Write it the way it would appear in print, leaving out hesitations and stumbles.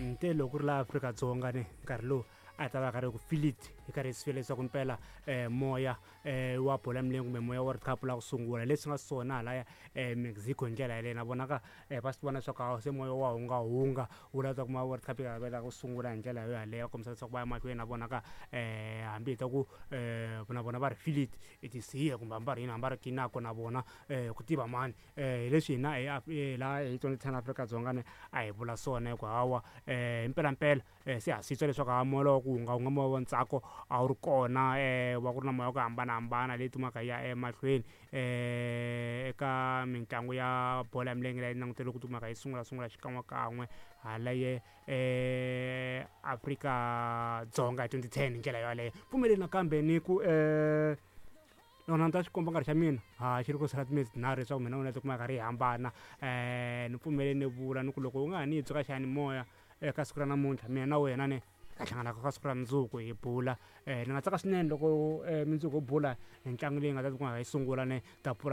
Nte loko ku ri laha Afrika-Dzonga ni nkarhi lowu a hi ta va karhi ku feel it hi karhi hi swi fila leswaku mpela moya wa bolo ya milenge kumbe moya World Cup la ku sungula leswi nga swona halaya Mexico hi ndlela yaleyo na vona ka va swi vona leswaku hawa se moya wa hungahunga wu lava ku ma World Cup yi la ku sungula hi ndlela yo yaleyo kombisa leswaku va ya mahlweni na vona ka hambi hi ta ku na vona va ri feel it it is here kumbe hambi va ri yini hambi va ri kinako na vona ku tiva mani hi leswi hina hi laha hi 2010 Afrika-Dzonga ni a hi vula swona hi ku hawa hi mpelampela se ha swi twa leswaku ha moya wa ku hunga wu nga moya wa ntsako a wu ri kona wa ku ri na moya wa ku hambanahambana leyi tumaka yi ya emahlweni eka mitlangu ya bolo ya milenge leyi languteriwe ku tumaka yi sungula sungula xikan'wekan'we hala ye Afrika-Dzonga hi 2010 hi ndlela yoleyo pfumeleli nakambe ni ku nona ni ta xi komba nkarhi xa mina ha xi ri ku sala timinetse tinharhu leswaku mina wena tikuma karhi hi hambana ni pfumele ni vula ni ku loko u nga ha ni twi ka xiyanimoya eka siku ra namuntlha mina na wena ni ta hlangana ka siku ra mundzuku hi bula ni nga tsaka swinene loko mundzuku ho bula hi ntlangu leyi nga ta tikuma yi sungula ni ta pfula.